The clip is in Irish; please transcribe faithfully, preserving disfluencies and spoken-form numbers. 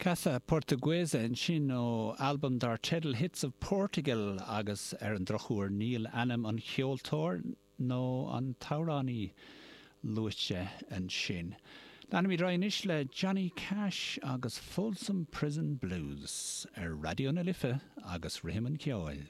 Casa Portuguesa ansin ó albam dar teideal Hits of Portugal agus ar an drochuair níl ainm an cheoltóir nó an t-amhránaí luaite ansin. Leanaimid anois le Johnny Cash agus Folsom Prison Blues ar Raidió na Life agus Rithim an Cheoil.